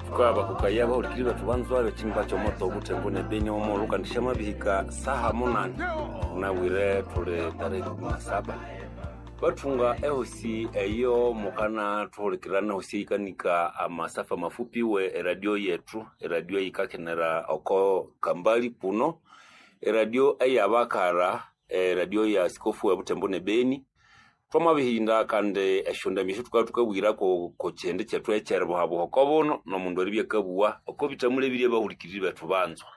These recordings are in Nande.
Tukabakukaya bahulikiri bethu banzwa ekyinimba kyomoto obuthembo nebeni omulhu kandi syamabihika saha munani unabwire thuli tarehe 17 bathunga ehosi eyo mukana thuhulikirana ehosi eyikanika amasafa mafupi we eradio yethu, eradio eyikakenera oko kambali kuno, eradio eyabakara, eradio ya askofu we Butembo ne Beni. Twamabihinda kandi esyondambi esyo thukabya thukabwirako ko kyindi kyethu ekyeribuhabuha oko buno nomundu eribya akabuwa oko bithamule birya abahulikiriri bethu banzwa.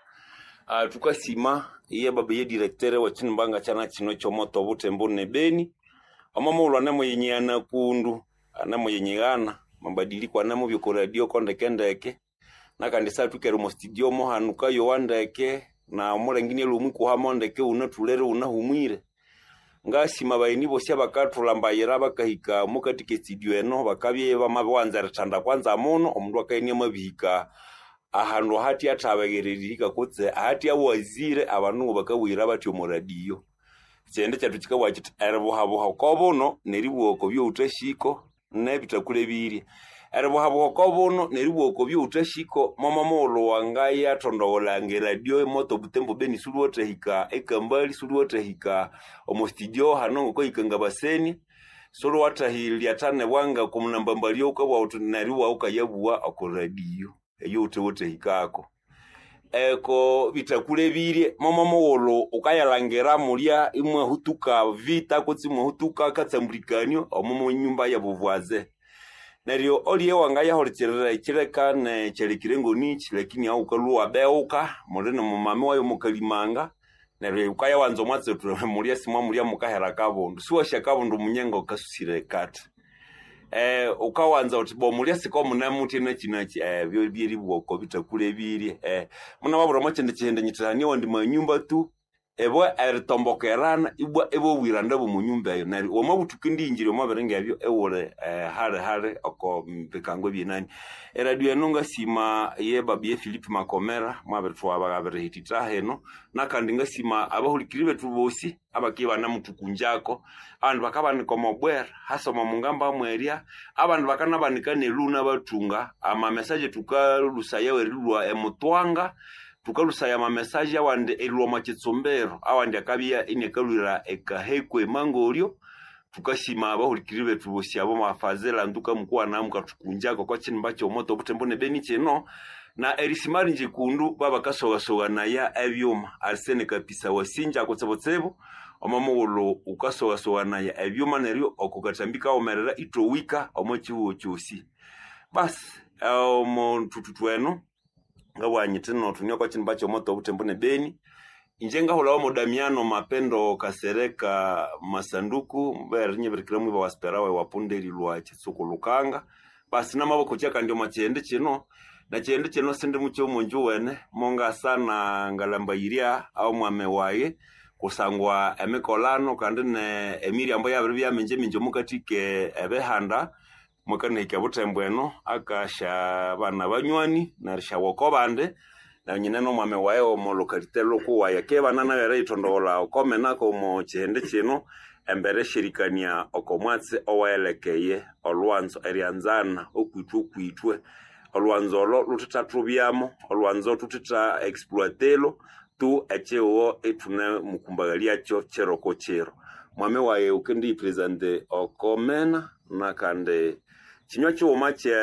Thukasima iye baba ye directeur wekyinimba ngakyana kino ekyomoto Butembo ne Beni, omo mughulhu anemuyinyigana kundu, anemuyinyigana amabadiliko anemubya oko radio ko ndeke ndeke, nakandi isyathwikere omo studio mohanu kayowa ndeke na omulenge inialhwa omwikuhamo ndeke iwunathulere iwunahumwire. Ngasima abagheni bosi abakathulhambayira bakahika omokathika e studio eno bakabya bamabiwanza erithanda kwanza muno omundu akabya iniamabihika ahandu ahathya athabegere erihika kutse ahathya awazire abandu ngabakabuyira bathya omo radio. Ekyindi kyethu kyikabugha kyithi eribuhabuha oko buno neribugha oko byowuthahiko nebithakule birya. Eribuhabuha oko buno neribugha oko byowuthahiko momo mughulhu wangayathondogholanga eradio emoto Butembo Beni isiwulhuwathahika ekambali, isiwulhuwathahika omo studio hano ngokahika ngabasenia, isiwulhuwathahilyathana bwanga oko munambambalya wukabugha wuthi neryo iwabya wukayabugha oko radio eyowuthe wathahikako. Eko bithakule birye momo mughulhu wukayalhangira mulya imwahutuka vita kutse imwahutuka akatsambulikanio omo nyumba yabuvwaze. Neryo olye wangayahulikirira ekyileka nekyalekire ngonichi lakini ahu wukalhwa iwabeghuka muli nomumami wayu mukalimanga neryo wukayawanza omwatsi wuthi mulya simwamulya mukahera akabundu. Siwasi akabundu munyenga wukasusire ekathi. Wukawanza wuthi bo mulya sikomunemuthya nakyi nakyi ebyo byeribugha oko bithakule birye. Munababwira omo kyindi kyihindi nyithi hane awandi manyumba tu ibo eritombokerana ibwa ibobwiranda bw'omo nyumba eyo neryo wamabuthuka indiyingira omo biringa ebyo iwuli hali hali oko bikango ebyenani. Eradio eno ngasima ye baba ye Philip Makomera mwabirithwabirihithitha hino nakandi ngasima abahulikiriri bethu bosi abakibya ibanamuthukunjako, abandi bakabanika omo bwera hasa omo mungamba mwerya, abandi bakanabanika neluna bathunga ama message thukalhusaya erilhwa emutwanga, thukalhusaya ama message awandi erilhwa omo kitsumbiro, awandi akabya iniakalhwira ekaheko emangolyo. Thukasima abahulikiriri bethu bosi abo mwafazila nduka mukuwana mukathukunjako oko kyinimba kyomoto Butembo ne Beni kino na erisima ringi kundu babakasogasoganaya ebyuma. Arsene Kapisa wasinja kutsibutsibu omo mughulhu wukasogasoganaya ebyuma neryo oko kathambi kaghumerera ithowika omo kyihugho kyosi. Basi omo thuthuthu eno ngabugha nyithi no thune oko kyinimba kyomoto Butembo ne Beni. Inje ngahulhawa mo Damiano Mapendo Kasereka Masanduku mbere nyibirikira mwiba wa Sperawe wa punda erilhwa Kitsuku Lukanga. Basi namabakokya kandi omo kyihindi kino na kyihindi kino sindi mukyo omunju wene mongasana ngalambayirya omwami wayi kusangwa emikolano kandi ne emiryambo yabiribya mingi mingi omukathika ebihanda mwakanahika Butembo eno akasya bana banywani nerisyawa oko bandi neryo nyine nomwami wayi omo locality lhukuwayi akibana nayo eriyithondogholha okomena omo kyihindi kino embere esyerikania oko mwatsi owayilekeye olhwanzo eryanzana okwithwe okwithwe. Olhwanzo olo luthithathubyamo, olhwanzo thuthitha exploitelo tu ekyihugho ithune mukumbaghalyakyo kiro ko kiro. Mwami wayi wukendiyipresente oko mena nakandi kinywa kighuma kye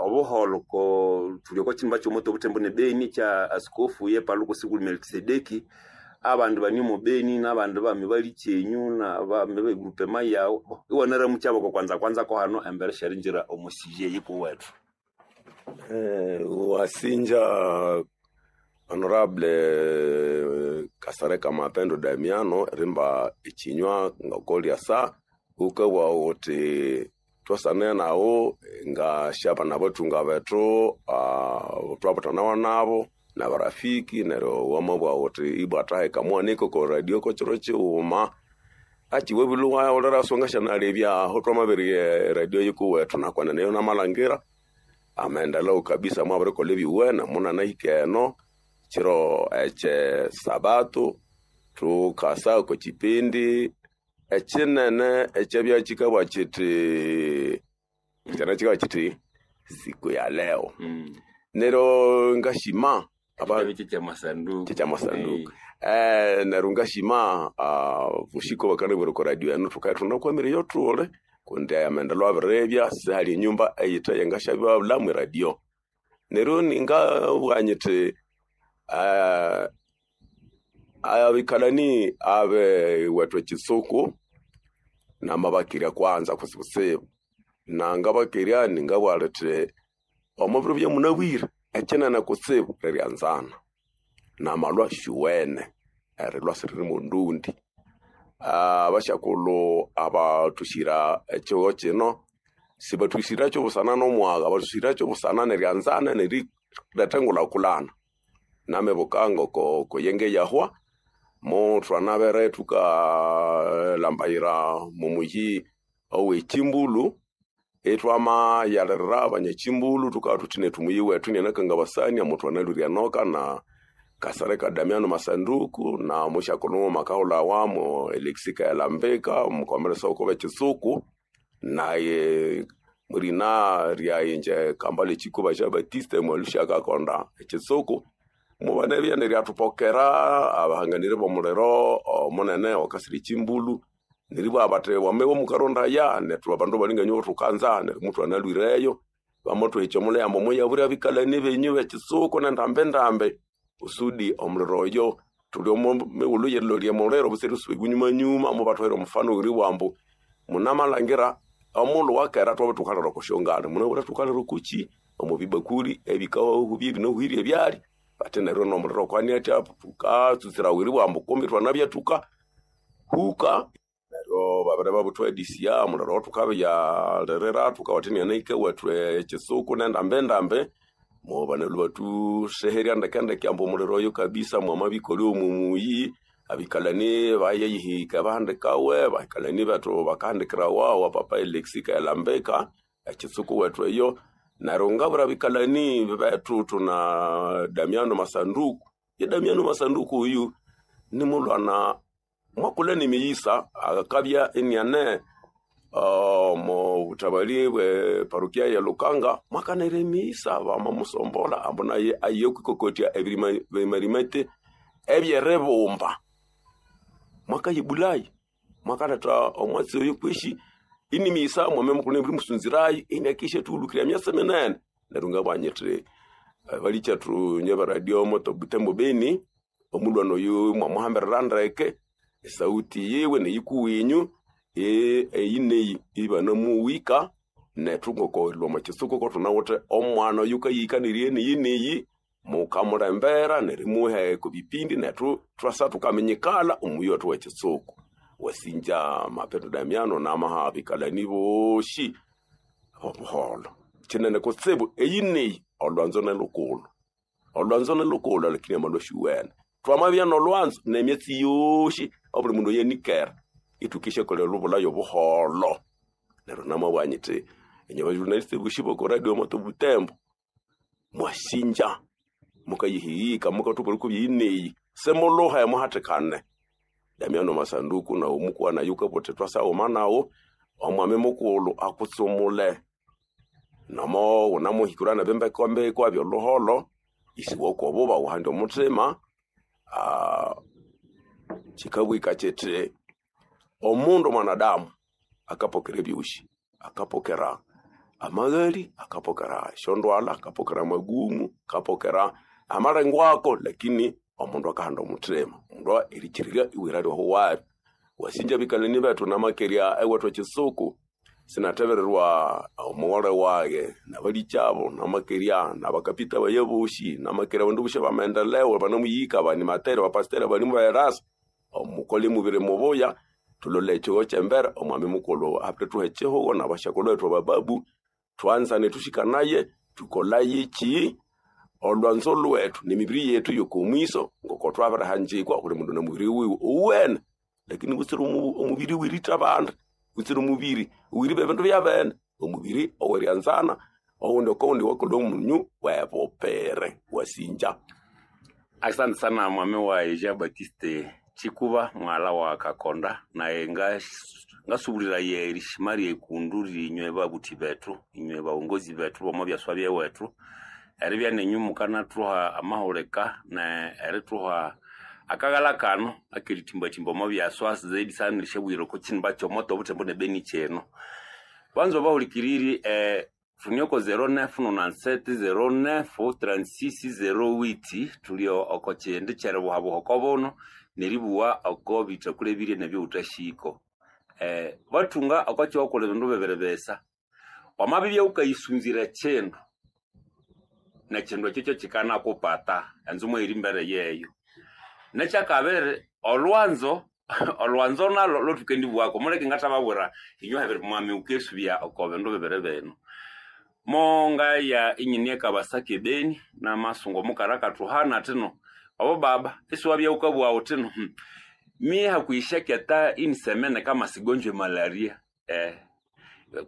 obuholho ko thuli oko kyinimba kyomoto Butembo ne Beni kya askofu ye Paluku Sikuli Melkisedeki abandi bane omo Beni nabandi bami balikyenyu nabami be groupement yawu iwanaramukya oko kwanza kwanza ko hano embere syeringira omo sujet yikuwethu. Wasinja honorable Kasereka Mapendo Damiano rimba ekinywa ngakolyasa ukabugha wuthi twasane naghu ngasyabana bathunga bethu thwabuthanawa nabo nabarafiki neryo wamabugha wuthi ibwa athaheka muhanike oko radio kokyiro kighuma akiwabile iwahulira siwangasyanalebya aho twamabirigha eradio yikuwethu nakwenene eyo namalhangira amaendeleo kabisa mwabirikolha ebyuwene munanahika eno kiro ekye sabato thukasa oko kipindi ekinene ekyabya kikabugha kithi kyana kikabugha kithi siku ya leo. Nero ngashima kya masanduku neryo ngashima vushiko bakanabwira ko radio eno tukaithunda kwamire yothule kundi amendelo abirebya sihali enyumba eyithe yengashabibabulamu radio. Neryo ningabugha nyithi abikalani abe wethu ekisuku namabakirya kwanza kusibusibu nangabakirya ningabugha lithi omubiro byamunabwire ekinene kutsibu riryanzana namalwa shuwene erilwa siriri mundundi. Abashakulhu abathushira ekigo kino sibathushira kyobusana nomwagha bathushira kyobusana neryanzana neriletha engulhakulhana. Namibuka ngoko koyenge yahwa muthwanabere thukalambayira mumuyi owekimbulu ithwamayalirira abanyakimbulu thukabya thuthi nethu muyi wethu inianakangabasania muthwanalwire enoka na Kasereka Damiano Masanduku na mushakulhu makahulhawa Alexi Kaelambika omukomeresa woko bekisuku naye murina ryainje Kambale Chikuba Jean Baptiste Mwalusha akakonda ekisuku mubane neryathupokera abahanganire bomuliro omunene okasira ekimbulu neribwa bathi wame mukarondaya nethu abandu balinganywa thukanza neryo muthu analwireyo bamuthuhikya omuliyambo muyabura abikalani benyu bekisuku nendambe ndambe usudi omuliro oyo tuli omumighulhu yerilolya muliro buseri suba nyuma mubathuhera omufano ori wambu munamalhangira omulhu wakera thwabe thukalira okusyongana munabura thukalira okuki omubibakuli ebikawahu ebinohwire ebyali bati neryo nomuliro kwani atya thukatsutsira wiri bwambu kumbi thwanabya thuka huka neryo babere babuthwedisya omuliro thukabyalirira thukawathenia naike wethu ekisuku nendambe ndambe mubanelu bathuseherya ndekendeke ambu omuliro oyo kabisa mwamabikoli omumuyi abikalani bayeyihika bahandikawe bahikalani bethu bakahandikirawa wa papa Alexi Kaelambika ekisuku wethu eyo. Neryo ngabura abikalani bethu tuna Damiano Masanduku ye Damiano Masanduku uyu ni mulwana mwakula nimiyisa akabya eniane mo butabali bwe parokia ya Lukanga mwakanere misa bamamusombola ambu naye aye kwikokotya ebirimarimete ebyerebumba mwakayibulayi mwakaleta omwatsi oyo kwishi inimisa mwame mukulu buli musunzirayi inakisha tuulukira myasa minene. Neryo ngabwanyithi balikyathu nye baradio moto Butembo Beni omulwana oyu mwamuhambirira ndeke esauti yiwe neyikuwinyu eyineyi ibanamuwika nethu ngokorilwa omwakisuku kothunawithe omwana oyu kayikanirye neyineyi mukamulembera nerimuha kubipindi nethu thwasa thukaminyikala omuyi wethu wekisuku. Wasinja Mapendo Damiano namaha abikalani boshi obuholo kinene kutsibu eyineyi olwanzo nelukulhu olwanzo nelukulhu lakini amalwa shuwene twamabya nolwanzo nemyatsi yoshi obuli mundu yenikera itukisha kola lubulayo buholo. Neryo namabwanyithi enye bajournaliste boshi boko radio moto Butembo mwasinja mukayihiyika mukathupa kubyineyi semuluha emuhathikane Damiano Masanduku na omukwana yukapote twasauma nawo omwami mukulhu akutsumule nomo unamuhikura nabembekombeko abyoluholo isiwokobuba uhandi omuthima. Kikabwika kyithi omundu mwanadamu akapokera ebyosi akapokera amaghali akapokera esyondwalha akapokera amagumu akapokera amalengwako lakini omundu akahanda omuthima omundu erikyirira iwira lyohuwabi. Wasinja bikalani bethu namakerya ewethu ekisuku sinathebererwa omughole wage nabalikyabo namakerya nabakapita baye bosi namakerya abandu bosi bamaendeleo banamuyika banimateri bapasiteri balimu baerasa omukole mubiri mubuya tulole ekigo kyembere omwami mukulhu abiri ekihugo nabashakulhu bethu abababu twanzane thushikanaye tukolaye ki olwanzo lwethu nemibiri yethu yokomwiso ngoko twabirihanjikwa buli mundu nomubiri wiwe owene lakini butsira omubiri wiritha abandi butsira omubiri wiriba ebindu byabene omubiri oweryanzana owundi okowundi wakolha omunyu webupere wasinja. Asante sana mwami wa Jean Baptiste Chikuba mwala wa Kakonda naye Ngasubuliraya erishima ryekundu rinywe babuthi bethu, inywe baongozi bethu bomo byaswa byewethu, eribya nenyu mukanathuha amahulika ne erithuha akaghala kano akeritimbatimba omo byaswa zaidi sana erishabwira oko kinimba kyomoto obuthembo ne Beni kyino. Banza bahulikiriri tunioko 0997 09 36 08 tuli oko kyindi kyeribuhabuha oko buno neribuwa oko bitakule birye nebyo utashiko. Batunga oko kyokola ebindu bibiri bisa. Wamabibya ukayisunzira kindu nekindu ekyo kyo kikanakupata enzu mweri mbere yeyo. Nekyakabiri olwanzo olwanzo nalo lothukendibuwako muleke ngathababwira inywe hebiri mwami ukesubya oko bindu bibiri bino. Mongaya inyini ekabasaka ebeni namasungu omukara akathuhana athino obo baba isiwabya wukabugha wuthino mie hakuishaketa inisemene kama sigonjwe malaria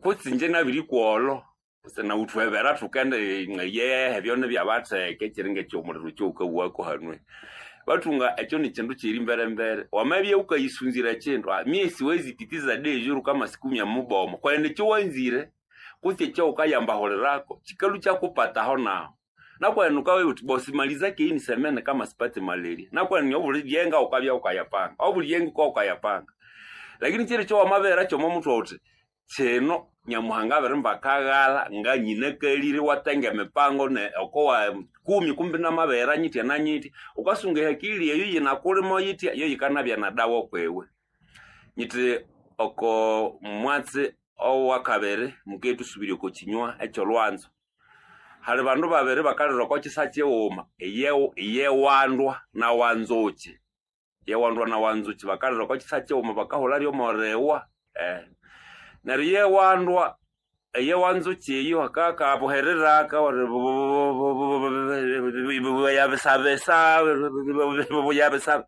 kutsi inje nabirikuwolo nawuthuhebera thukende yehe ebyona byabatheka ekyiri ngekyomuliro kyowukabughaku hanwe. Bathunga ekyo nikyindu kyiri mberembere wamabya wukayisunzira ekyindu mie siwezi pitiza dejuru kama sikumya mubomo kwenene ekyowanzire kutse ekyawukayambahulirako kikalhu kyakupataho nahu. Nakwenene wukabya wuthi bosi malizake inisemene kama sipate malaria nakwenene obuli lyenga wukabya wukayapanga obuli lyenga wukabya wukayapanga. Lakini kyiri ekyowamabera kyomo muthwe wuthi kino Nyamuhanga abirimba akaghala nganyinakalire iwatenga emipango ne okowa kumi kumbi namabera nyitya na nyitya wukasunga ehakili eyo yinakulimo yitya yo yikanabya na dawa okwiwe. Nyithi oko mwatsi owakabiri mukethusubirirya oko kinywa ekyolhwanzo. Hali bandu babiri bakalira oko kisa kighuma iyewandwa na wanzukyi. Iyewandwa na wanzukyi bakalira oko kisa kighuma bakahulha lyomoriwa. Neryo iyewandwa eyewanzukyi eyo akakabuherera buyabisabisa buyabisa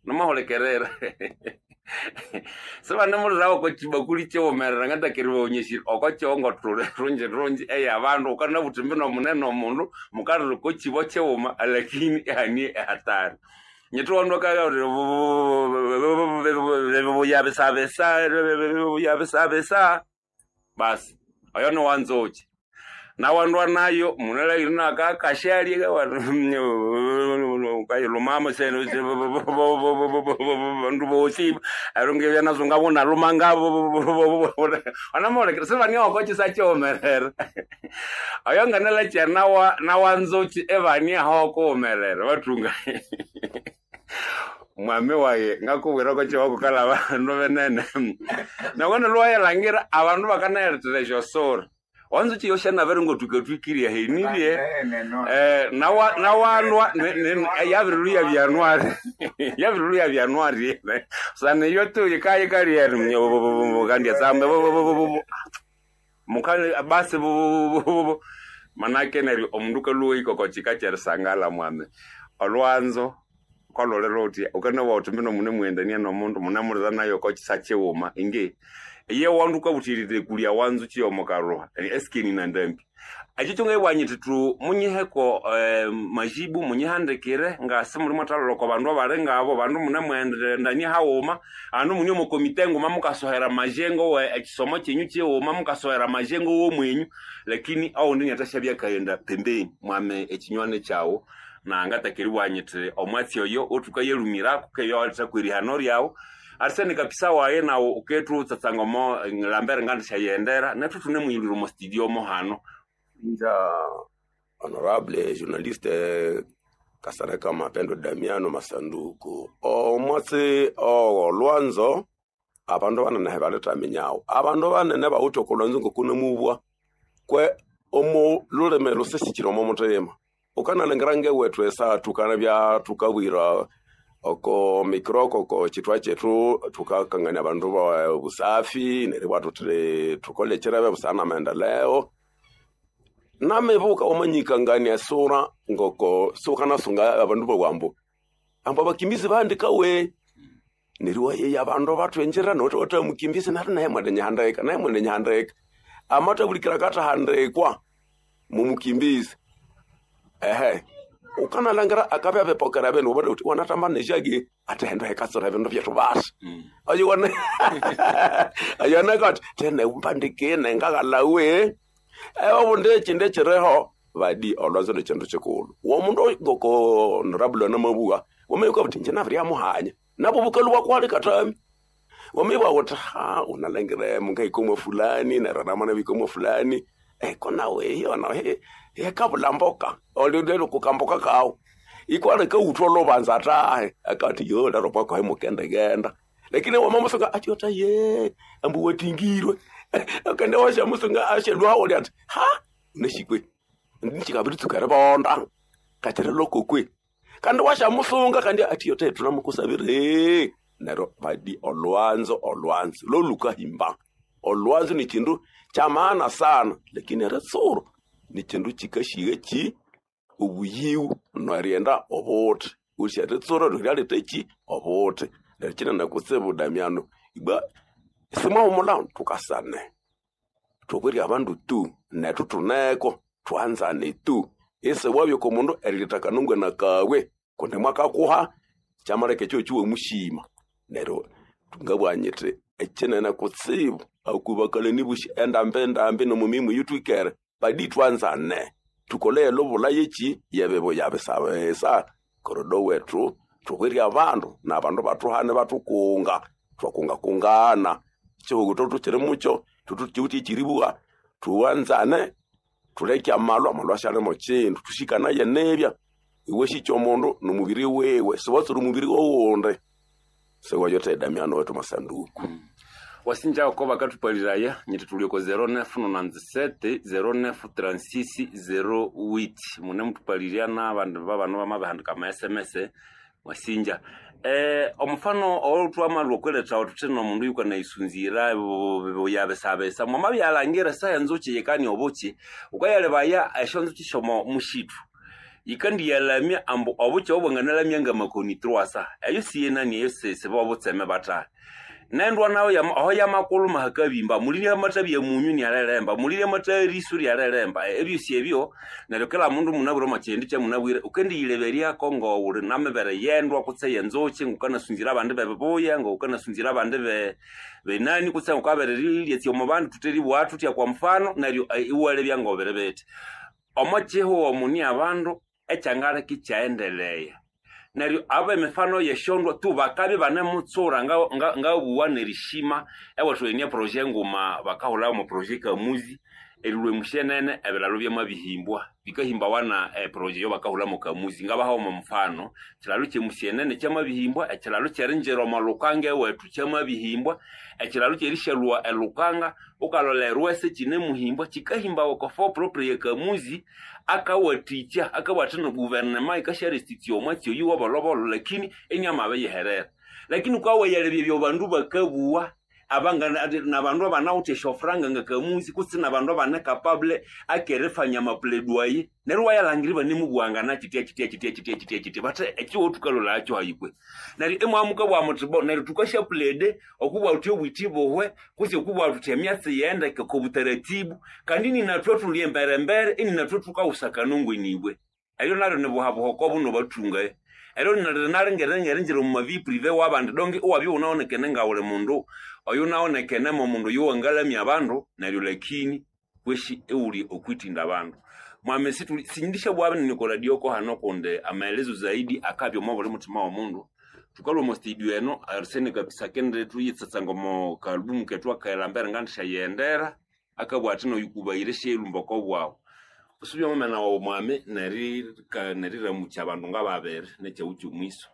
namahulikirira. Sibanemulirawo oko kibakuli kighumerera ngatakeribaghonyesya oko kyongothule rungi rungi eyabandu wukanabuthi mbino munene omundu mukalira oko kibo kighuma lakini ihane ehatari. Nyithi wandu akabya buyabisabisa buyabisabisa basi oyo niwanzukyi. Nawandwa nayo munalhaghire nakakashalya wukayilhumamo bandu bosi neryo ngebya nazo ngabunalhuma ngabo wanamuhulikirira sibania oko kisa kighumerera. Oyo nganalhakya nawanzukyi ibania aho okughumerera bathunga. Mwami wayi ngakubwira oko kihugho kukalha abandu binene. Nawenene lhuwayilhangira abandu bakanayilethera esyosura. Wanzukyi eyo syanabere ngothukathwikirye ahenirye nawandwa yabirilhuya byanwari yabirilhuya byanwari sana iyo tu yikayikalya kandi tsamba mukali basi manake neryo omundu kalhuwa oko kika kyerisangala mwami. Olwanzo kolholere wuthi wukanowa wuthi mbino munemughendania nomundu munemulira nayo oko kisa kighuma ingi iye wandu wukabuthirira ekulya wanzukyi yomokalhuha esikeni nandambi. Ekyo kyongayibugha nyithi thu munyiheko majibu munyihandikire ngasi muli mwathalolha oko bandu abali ngabo bandu munemughendania haghuma abandu mune omo komite nguma mukasohera amajengo we ekisomo kyenyu kighuma mukasohera amajengo womwenyu lakini awundi inathasyabya akaghenda pembeni mwame ekinywani kyaghu na ngatakeriibugha nyithi omwatsi oyo othukayalhumirako keyawalethaku erihano lyaghu. Arsene kapisa waye nawu ukethu tsatsanga omo lambere ngandishyayendera nethu thunemuyilhwira omo studio mo hano. Nja honorable journaliste Kasereka Mapendo Damiano Masanduku omwatsi ogolwanzo abandu banene balethaminyagho abandu banene bawithe okolwanzo ngokunemubwa kwe omo lulimi lusisikire omo muthima ukanalhangira ngewethu esa thukanabya thukabwira oko mikroko oko kyithwa kyethu thukakangania abandu ba busafi neribwa thuthi thukole kyirebe busana namaendeleo namibuka wamanyikangania esura ngoko siwukanasunga abandu bawambu ambu abakimbizi bahandikawe neryo iwayeya abandu bathwenjera nowuthi wathamukimbizi neryo naye mwenenyihandika naye mwenenyihandika amathabulikira akathahandikwa mumukimbizi ehe. Ukanalangira akabya bipokera bindu ubone uthi wanatamba nejagi ate hendo hekatsura bindu byethu basi. Ayo wana ayo nakati tene umbandikine ngagalawe. Obundi ekindu ekiriho badi olwanzo nekindu kikulu. Omundu ngoko honorable namabuwa wameyuka buthi inje nabiryamuhanya nabo bukalu bwakwali katami. Wameyuka buthi ha unalangire mungahikomwa fulani neryo namana bikomwa fulani eko nawe iyo nawe yekabulamboka olindelo kukamboka kawo ikwale kawuthwa lobanza tahe akati yo lero kwakho hemukendegenda lakini wamamusunga atyota ye ambu watingirwe akende washamusunga ashelwawo lyati ha neshikwe nchikabiritsukere bonda kachire lokokwe kandi washamusunga kandi atiyota tunamukusabire neryo badi olwanzo olwanzo lolukahimba olwanzo ni kindu kya maana sana lakini eritsuro ni kindu kikashiga ki obuyiwu nerienda obuthi usya ritsuro ryaleta ki obuthi neryo kinene kutsibu Damiano ibwa simwahumula tukasane thubwire abandu tu nethu thuneko thwanzane tu isiwabya oko mundu erileta kanungwana kawe kundi mwakakuha kyamaleka ekyo kiwamushima neryo ngabugha nyithi ekinene kutsibu akubakalani bushi endambi endambi nomumimu yithwikere badi thwanzane thukole elubula yeki yebibuya bisabisa korodo wethu thubwire abandu nabandu bathuhane bathukunga thwakungakungana ekihugu thukiri mukyo thukiwithe ekyiribuwa thuwanzane thuleke amalwa amalwa asyalimo kindu thushikanaye nibya iwe shikya omundu nomubiri wiwe siwatsira omubiri wowundi siwayothe Damiano wethu masanduku. Wasinja ko bakathupaliraya nyiti tulioko 0997 0936 08 mune mutupalirya n'abandu babano bamabihandika ama SMS wasinja omufano olutwamalwa okweletha thuthi nomundu yukanaisunzira buyabisabisa mwamabyalhangira esaha enzuki yikania obuki wukayalebaya esyonzuki syomo mushitu yikandiyalamya ambu obuki obu bwanganalamya ngamakoni truwasa eyo siyenani eyo siba obutseme bathahi nendwa nayo aho yamakuluma hakabimba mulirya amatha bya munyu nialelemba mulirya amatha erisu lyalelemba ebyosi ebyo neryo kila mundu munabwire omo kyindi kyamunabwire ukendiyileberyako ngowuli namibere yendwa kutse yenzuki ngukanasunzira abandi bebibuya ngukanasunzira abandi benani kutse ngukabereriryatsya omo bandu thuteribugha thuthya kwa mfano neryo iwalebya ngobere bithi omo kihugho muni abandu ekyangaleka ikyaendeleya neryo aba emifano yesyondwa tu bakabya ibanemutsura ngabuwa nerishima ewethu enie proje nguma bakahulha omo proje kamuzi erilwa emushenene ebilalo byamabihimbwa bikahimbawa na eproje eyobakahulha mo kamuzi ngabaha omo mufano ekilalo kyemushenene kyamabihimbwa ekilalo kyerinjira omo lukanga ewethu kyamabihimbwa ekilalo kyerishalhwa elukanga ukalhola erwese kyinemuhimbwa kikahimbawa oko fo propre yekamuzi akawathikya akawathina guvernema yikasyaresitya omwatsi oyu wabolhobolho lakini iniamabiyiherera lakini wukawayalebya ebyo bandu bakabuwa nabandu abanawithe esyofuranga ngakamuzi kutse nabandu abane capable akerifanya amapledwaye neryo iwayalhangira ibanemubuwangana kyitya kyitya kyitya kyitya kyitya kyitya bathe ekihugho thukalholakyo hayikwe neryo imwamukabugha muthi bo neryo thukasyaplede okubugha thuthi obwithi buhwe kutse okubugha thuthi emyatsi yendeke okwa butaratibu kandi ininathwe thuli emberembere ininathwe thukawusa kanongwenibwe eryo naryo nibuhabuha buno bathunga eryo nalingerengerinjira omu ma vie privée wabandi donge iwabya iwunawonekene ngawuli mundu oyu nawonekene momundu oyuwangalamya abandu neryo lakini kweshi iwuli okwitinda abandu mwami sindishabugha binene oko radio ko hano kundi amaelezo zaidi akabya omo buli muthima womundu thukalhwa omo studio eno arsene kabisa akendire thuyitsatsanga omo kaalubumu kethu akaelambere ngandishyayendera akabugha athi noyukubayire syerumba oko bwawu usubya omumena wawu mwami neriramukya abandu ngababiri nekyaghu kyomwiso.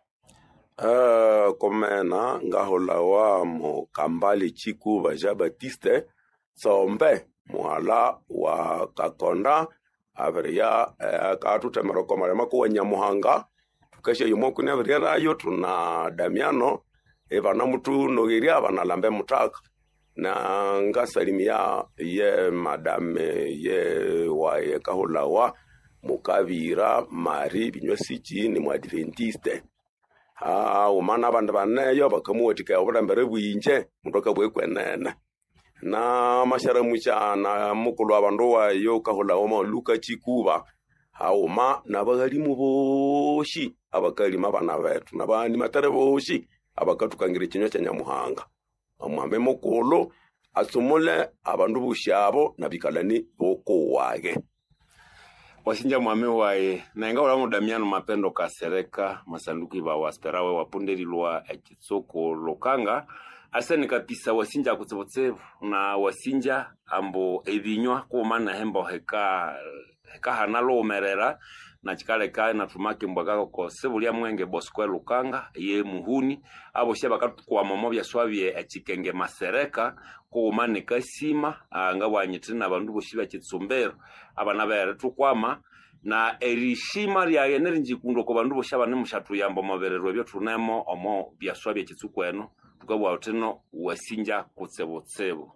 Komena ngahulhawa mu Kambale Chikuba Jean Baptiste Tsombe muhala wa Kakonda abiriya akathuthemera oko malima kuwa Nyamuhanga thukasyayo omwakuni abiryerayo thuna Damiano ibanamuthunogherya banalamba emuthaka na ngasalimia ye madame ye waye kahulhawa Mukabira Mari Binywasiki ni muadventiste haghuma n'abandi baneyo bakamuwathikaya obulembere bwinje mundu akabugha ekwenene namasharamucha na mukulhu wa bandu wayo kahulhawa Luka Chikuba Haghuma n'abaghalimu bosi abakalima abana bethu n'abanimathere bosi abakathukangira ekinywa kya Nyamuhanga. Omwami mukulhu asumule abandu bosi abo n'abikalani b'okuwage. Wasinja mwami waye nainga ulamu Damiano Mapendo Kasereka masanduku iba wasperawe wapundelilwa ekitsuku Lukanga aseni kapisa wasinja kutsibutsibu na wasinja ambu ebinywa kuma nehembo heka hekahana luwumerera na chikaleka nathumake mbwa kako sibulya mwenge Bosco Lukanga ye muhuni abosi abakathukwama omo byaswabye ekikenge masereka kughuma nekasima ngabwanyithina nabandu bosi bekitsumbiro abana berithukwama na erishima lyaye nerinjikundo oko bandu bosi abanemusyathuyamba omo biriro ebyo thunemo omo byaswa byekitsuku eno thukabugha thuthino wasinja kutsibutsibu.